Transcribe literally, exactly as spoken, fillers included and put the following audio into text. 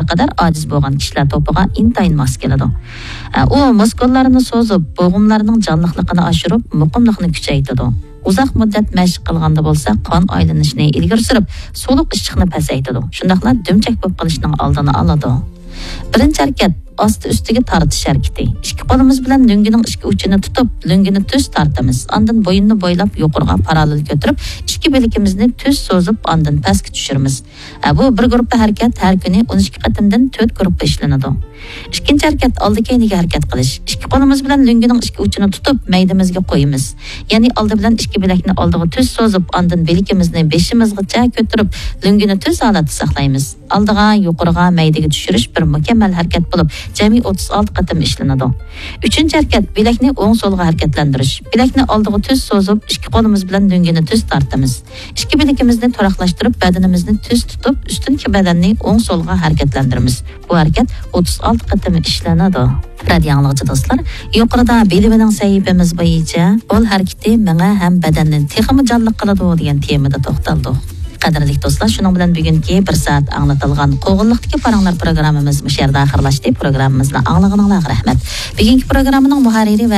قەدەر ئاجىز بولغان كىشىلەر توپىغا ئىنتايىن ماس كېلىدۇ. ئە، ئۇ مۇسكۇللارنى سوزۇپ، بوغۇملارنىڭ جانلىقلىقىنى ئاشۇرۇپ، مۇقىملىقنى كۈچەيتىدۇ. ئۇزاق مۇددەت مەشىق قىلغاندا بولسا، قان ئايلىنىشنى ئىلگىرى سۈرۈپ، سولۇق ئىششىقنى پەسەيتىدۇ. شۇنداقلا دۈمچەك بولۇپ قېلىشنىڭ ئالدىنى ئالىدۇ. بىرىنچى ھەرىكەت، ئاستى ئۈستىگە تارتىش ھەرىكىتى. ئىككى قولىمىز بىلەن لۆڭگىنىڭ ئىككى ئۇچىنى تۇتۇپ، لۆڭگىنى تۈز تارتىمىز. ئاندىن بويۇننى بويلاپ يۇقىرىغا پاراللېل كۆتۈرۈپ، ئىككى بىلىكىمىزنى تۈز سوزۇپ، ئاندىن پەسكە چۈشۈرىمىز. ئە، بۇ بىر گۇرۇپپا ھەرىكەت ھەر كۈنى ئون ئىككى قېتىمدىن تۆت گۇرۇپپا ئىشلىنىدۇ. ئىككىنچى ھەرىكەت، ئالدى كەينىگە ھەرىكەت قىلىش. ئىككى قولىمىز بىلەن لۆڭگىنىڭ ئىككى ئۇچىنى تۇتۇپ، مەيدىمىزگە قويىمىز. يەنى ئالدى بىلەن ئىككى بىلەكنى ئالدىغا تۈز سوزۇپ، ئاندىن بىلىكىمىزنى بېشىمىزغىچە كۆتۈرۈپ، لۆڭگىنى تۈز ھالەتتە ساقلايمىز. ئالدىغا، يۇقىرىغا، مەيدىگە چۈشۈرۈش بىر مۇكەممەل ھەرىكەت بولۇپ، جەمئىي ئوتتۇز ئالتە قېتىم ئىشلىنىدۇ. ئۈچىنچى ھەرىكەت، بىلەكنى ئوڭ سولغا ھەرىكەتلەندۈرۈش. بىلەكنى ئالدىغا تۈز سوزۇپ، ئىككى قولىمىز بىلەن لۆڭگىنى تۈز تارتىمىز. ئىككى بىلىكىمىزنى تۇراقلاشتۇرۇپ، بەدىنىمىزنى تۈز تۇتۇپ، ئۈستۈنكى بەدەننى ئوڭ سولغا ھەرىكەتلەندۈرىمىز. بۇ ھەرىكەت ئوتتۇز ئالتە قېتىم ئىشلىنىدۇ. رادىيو ئاڭلىغۇچى دوستلار، يۇقىرىدا بىلىۋېلىڭ سەھىپىمىز بويىچە قول ھەرىكىتى مېڭە ھەم بەدەننى تېخىمۇ جانلىق قىلىدۇ دېگەن تېمىدا توختالدۇق. قەدىرلىك دوستلار، شۇنىڭ بىلەن بۈگۈنكى بىر سائەت ئاڭلىتىلغان قوغۇنلۇقتىكى پاراڭلار پروگراممىمىز مۇشۇ يەردە ئاخىرلاشتى. پروگراممىمىزنى ئاڭلىغىنىڭلارغا رەھمەت. بۈگۈنكى پروگراممىنىڭ مۇھەررىرى ۋە